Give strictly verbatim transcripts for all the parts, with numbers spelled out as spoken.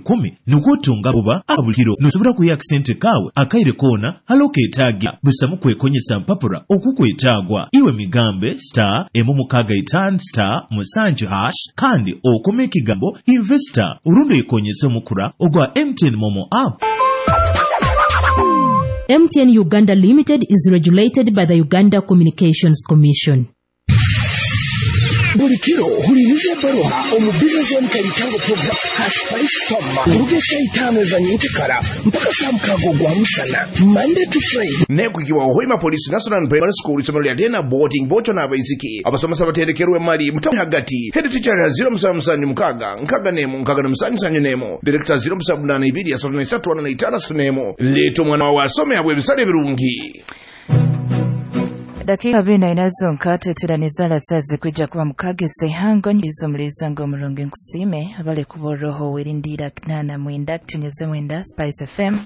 rukumi nukwo otunga buba abulikiro nosobora kuya akasente kawe akaire koona hali okeetaaga busamu kwekonyesa mpapura okukwetaagwa iwe migambe star emu mukaaga itaano star musanju hash kandi okome ekigambo investor orundi oyekonyese omukura ogwa M T N Momo app. M T N Uganda Limited is regulated by the Uganda Communications Commission. Buli kiro huliriza ebbaluha omu Business Zone Kalitango program Spice Farmer kuruga saa itaano za nyenkyakara mpaka saa mukaaga ogwa musana Monday to Friday. Nekwikiwa Hoima Police National Primary School isomero lya Dena boarding bocho n'abaisiki abasomesa baterekerwe mali mutamu hagati head teacher ya zero musanvu musanju mukaaga nkaaga n'emu nkaaga na musanju sanju n'emu director zero musanvu munaana ibiri asatu na isatu ana na itaano asatu n'emu leeta omwana wawe asome abwe ebisale ebirungi. Dakika abiri na ina zonka tweteraniza lasazi kwijja kuba mukagese hango nyizo mulizango omurungi nkusime abale kuboroho werindira nana mwenda kutunyeze mwenda Spice F M.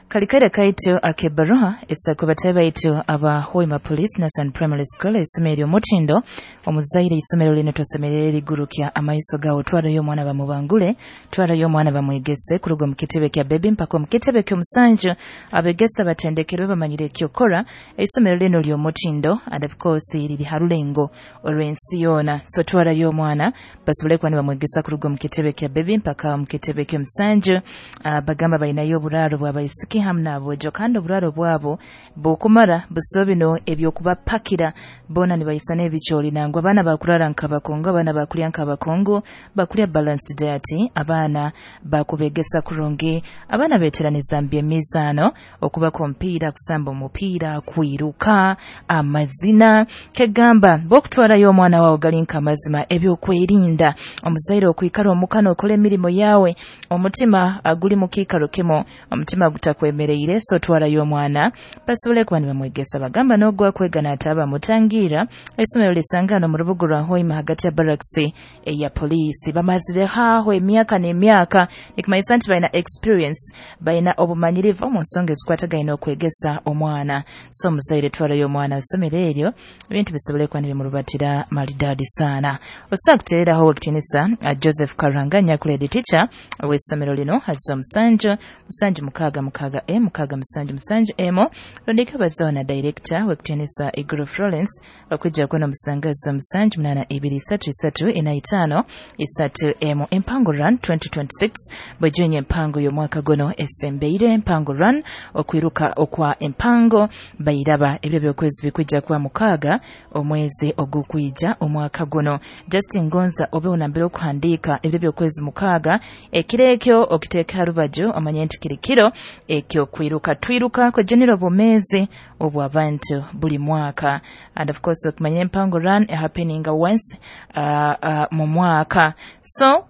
Kalikare kaitu akebaruha esako baitu aba Hoima Police National Primary School isomero omutindo omuzaire isomero lino tosemerere ligurukya amaiso gawo twara yo mwana bamubangule twara yo mwana bamwegese kuruga mu kitebe kya baby mpaka mu kitebe kyo musanju abegesa batendekerwe bamanyire kyokora isomero lino lyo mutindo and of course liri harulengo olwensi yona so twara yo mwana basobole kwani bamwegesa kuruga mu kitebe kya baby mpaka mu kitebe kyo musanju uh, bagamba bainayo buraro bwabaisiki hamna abojo kandi oburaro bwabo bukumara busobino ebyokubapakira bona nibayisana ebicholi nangwa abana bakurara nkabakongo abana bakulya nkabakongo bakulya balanced diet abana bakubegesa kurungi abana beteraniza mbyemizano okuba kompira kusamba omupira kwiruka amazina kegamba bokutwarayo omwana wawe galinka amazima ebyokwerinda omuzaire okwikara omukano okole emirimu yawe omutima aguli mukikaro kemo omutima gutakwemereire so twarayo omwana basobole kuba nibamwegesa bagamba n'ogwa kwegana ataba mutangira isomero lisangano mu rubuga rwa Hoima hagati ya barracks eya police bamazire haho emyaka n'emyaka nikumanyisa nti balina experience balina obumanyirivu mu nsonga ezikwatagaine okwegesa omwana so omuzaire twarayo omwana isomero eryo ebintu bisobole kuba nibimurubatira maridadi sana. Osobola kuteereraho wekitinisa Joseph Karanga nyakuledi teacher w'essomero lino haziwa musanju musanju mukaaga mukaaga e mukaaga musanju musanju emo londeka bazona director wekutenisa Iguru Florence bakwijja kuno musangazo musanju munana ibiri isatu isatu ina itano isatu emo. Empango Run twenty twenty-six bwejenye empango y'omwaka guno esembeire Empango Run okwiruka okwa empango bairaba ebyo byokwezi bikwijja kuba mukaaga omwezi ogukwija omwaka guno. Justin Gonza obe unambere okuhandiika ebyo byokwezi mukaaga ekirekyo okiteeka rubaju omanye nti kirikiro ekyo kwiruka twiruka kwa general bomezi obw'abantu buli mwaka and of course okumanya Empango Run happening once uh, uh, mu mwaka so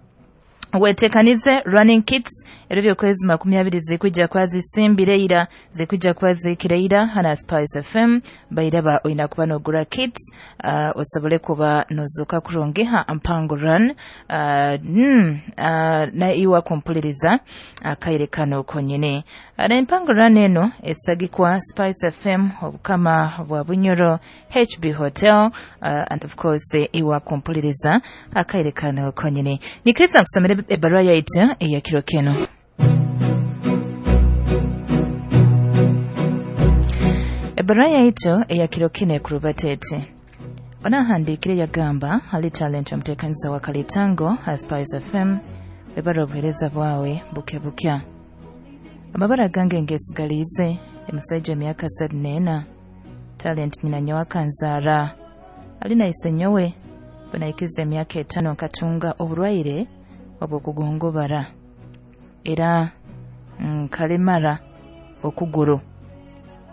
wetekanize running kits ebyo byokwezi makumi abiri zikwijja kwazisimbire zikwijja kwazikireira hana Spice F M bairaba oyina kuba nogura kits uh, osobole kuba nozuka kurungiha Mpango Run uh, mm, uh, na iwa kumpuliriza akaire uh, kano konyene uh, na Mpango Run eno esagikwa Spice F M obukama bwa Bunyoro H B Hotel uh, and of course iwa kumpuliriza akaire kano konyene nikiriza nkusomere ebarua yaitu eyakiro keno. Ebarua yaitu eyakiro kino ekurubatete onahandikire yagamba hali talent omuteekaniza wa Kalitango ha Spice F M ebara obuheereza bwawe buke bukya amabara gange ngesigalize emusajja emyaka asatu n'ena talent nyina nyowe akanzaara alina ise nyowe bwenaikiza emyaka etaano nkatunga oburwaire obw'okugongobara era nkalemara okuguru